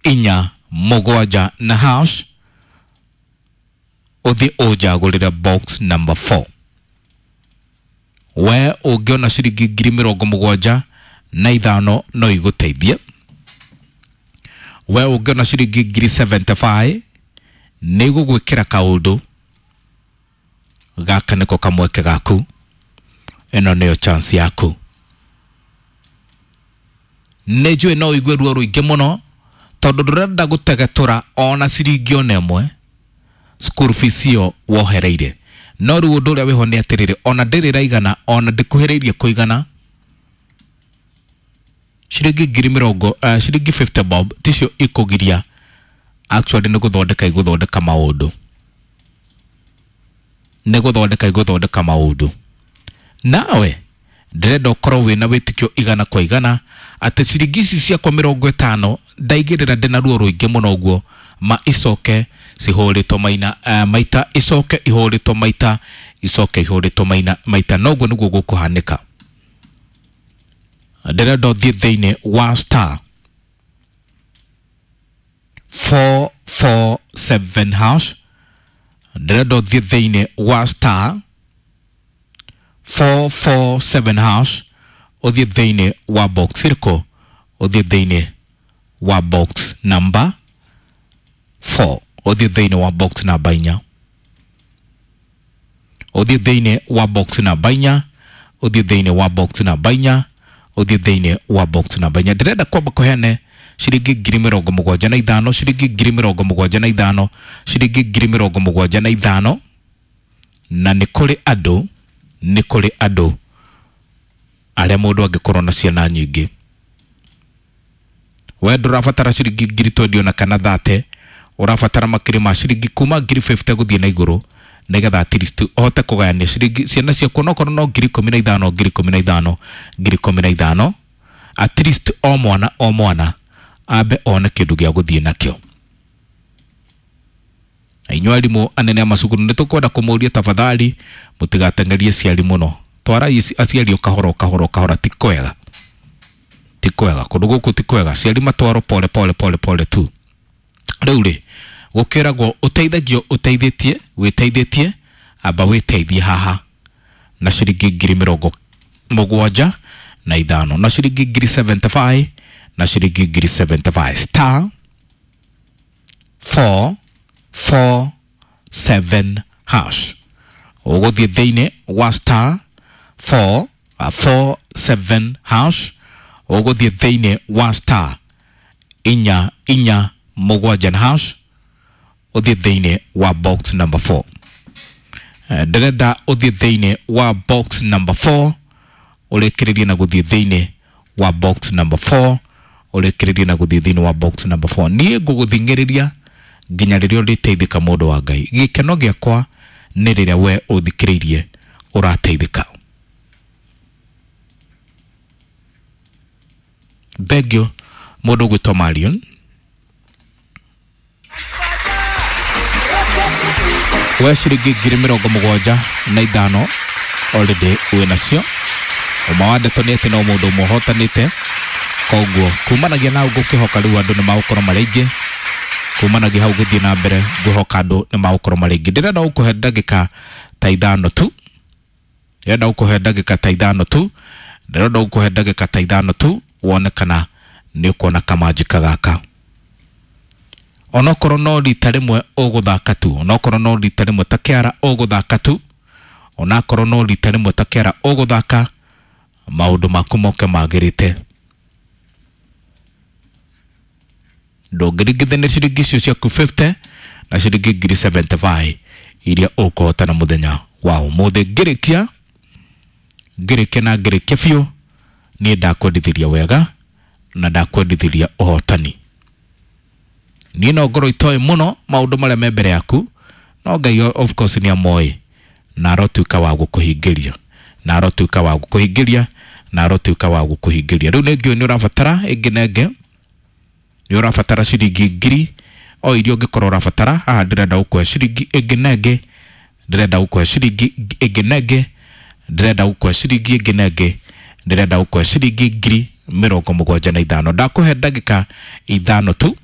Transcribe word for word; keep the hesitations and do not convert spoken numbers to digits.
Inya mũgwanja na hash, ũthiĩ ũnjagũrĩre box number four. We ũngĩona ciringi ngiri mĩrongo mũgwanja na ithano no igũteithie. We ũngĩona ciringi ngiri seventy five nĩ igũgwĩkĩra kaũndũ. Gaka nĩko kamweke gaku, ĩno nĩyo chance yaku. Nĩ njũĩ no ũigue ruo rũingĩ mũno tondũ ndũrenda gũtegetũra ona ciringi ona ĩmwe school fees ĩyo wohereire. No rĩu ũndũ ũrĩa wĩho nĩ atĩrĩrĩ, ona ndĩrĩ ĩraigana, ona ndĩkuhĩrĩirie kũigana. Ciringi ngiri mĩrongo, uh, ciringi fifty bob ticio ikũgiria actually nĩ gũthondeka igũthondeka maũndũ, nĩ gũthondeka igũthondeka maũndũ. Nawe ndĩrenda ũkorwo wĩna wĩtĩkio igana kwa igana atĩ ciringi ici ciakwa mĩrongo ĩtano ndaigĩrĩra ndĩna ruo rũingĩ mũno ũguo ma icoke cihũrĩtwo maina, uh, maita, icoke ihũrĩtwo maita, icoke ihũrĩtwo maina maita. Noguo nĩguo gũkũhanĩka. Ndĩrenda ũthiĩ thĩinĩ wa star four four seven hash, ndĩrenda ũthiĩ thĩinĩ wa star four four seven hash, ũthiĩ thĩinĩ wa box ĩrĩkũ? Ũthiĩ thĩinĩ wa box number four, ũthiĩ thĩinĩ wa box namba inya, ũthiĩ thĩinĩ wa box namba inya, ũthiĩ thĩinĩ wa box namba inya, ũthiĩ thĩinĩ wa box namba inya. Ndĩrenda kwamba kũheane ciringi ngiri mĩrongo mũgwanja na ithano, ciringi ngiri mĩrongo mũgwanja na ithano, ciringi ngiri mĩrongo mũgwanja na ithano. Na nĩ kũrĩ andũ, nĩ kũrĩ andũ arĩa mũndũ angĩkorwo na ciana nyingĩ. We ndũrabatara ciringi ngiri twenty ona kana thirty, ũrabatara makĩria ma ciringi kuma ngiri fifty gũthiĩ na igũrũ, nĩgetha at least ũhote kũgayania ciringi ciana ciaku, onokorwo no ngiri ikũmi na ithano, ngiri ikũmi na ithano, ngiri ikũmi na ithano, at least o mwana o mwana ambe one kĩndũ gĩa gũthiĩ nakĩo. Na inyuĩ arimũ anene a macukuru nĩ tũkwenda kũmũria tafadhali mũtigateng'erie aciari mũno. Twarai aciari o kahora o kahora o kahora, ti kwega, ti kwega kũndũ gũkũ, ti kwega. Aciari matwarwo pole pole pole pole tu. Rĩu rĩ, gũkĩragwo ũteithagio ũteithĩtie, wĩteithĩtie, amba wĩteithie haha na ciringi ngiri mĩrongo mũgwanja na ithano, na ciringi ngiri seventy five, na ciringi ngiri seventy five. Star four four seven hash, ũgũthiĩ thĩinĩ wa star four, uh, four seven hash, ũgũthiĩ thĩinĩ wa star inya inya mũgwanja na hash, ũthiĩ thĩinĩ wa box number four. Ndĩrenda ũthiĩ thĩinĩ wa box number four, ũrĩkĩrĩrie na gũthiĩ thĩinĩ wa box number four, ũrĩkĩrĩrie na gũthiĩ thĩinĩ wa box number four. Niĩ ngũgũthing'ĩrĩria nginya rĩrĩa ũrĩteithĩka, mũndũ wa Ngai. Gĩkeno gĩakwa nĩ rĩrĩa we ũthikĩrĩirie ũrateithĩka. Thengiũ mũndũ ũgwĩtwo Marion. We ciringi ngiri mĩrongo mũgwanja na ithano already wĩ nacio. Ũma wa ndeto nĩ atĩ no mũndũ ũmwe ũhotanĩte, koguo kumanagia na ngũkĩhoka rĩu andũ nĩ magũkorwo marĩ aingĩ. Kumanagia hau gũthiĩ na mbere ngwĩhoka andũ nĩ magũkorwo marĩ aingĩ. Ndĩrenda gũkũhe ndagĩka ta ithano tu, ndĩrenda gũkũhe ndagĩka ta ithano tu, ndĩrenda gũkũhe ndagĩka ta ithano tu wone kana nĩ ũkuona kamanjika gaka. Onokorwo no rita rĩmwe ũgũthaka tu, onokorwo no rita rĩmwe ta kĩara ũgũthaka tu, onakorwo no rita rĩmwe ta kĩara ũgũthaka, maũndũ maku moke magĩrĩte. Ndũngĩringithania ciringi icio ciaku fifty na ciringi ngiri seventy five iria ũkũhotana mũthenya wa ũmũthĩ. Ngĩrĩkia, ngĩrĩkia na ngĩrĩkia biũ, niĩ ndakwendithĩria wega na ndakwendithĩria ũhotani. Niĩ no ngorwo itoĩ mũno maũndũ marĩa me mbere yaku, no Ngai of course nĩ amoĩ, na arotuĩka wa gũkũhingĩria, na arotuĩka wa gũkũhingĩria, na arotuĩka wa gũkũhingĩria. Rĩu nĩ ngĩũĩ nĩ ũrabatara ĩngĩ na ĩngĩ, nĩ ũrabatara ciringi ngiri o iria ũngĩkorwo ũrabatara. Haha ndĩrenda gũkũhe ciringi ĩngĩ na ĩngĩ, ndĩrenda gũkũhe ciringi ĩngĩ na ĩngĩ, ndĩrenda gũkũhe ciringi ĩngĩ na ĩngĩ, ndĩrenda gũkũhe ciringi ngiri mĩrongo mũgwanja na ithano. Ndakũhe ndagĩka ithano tu.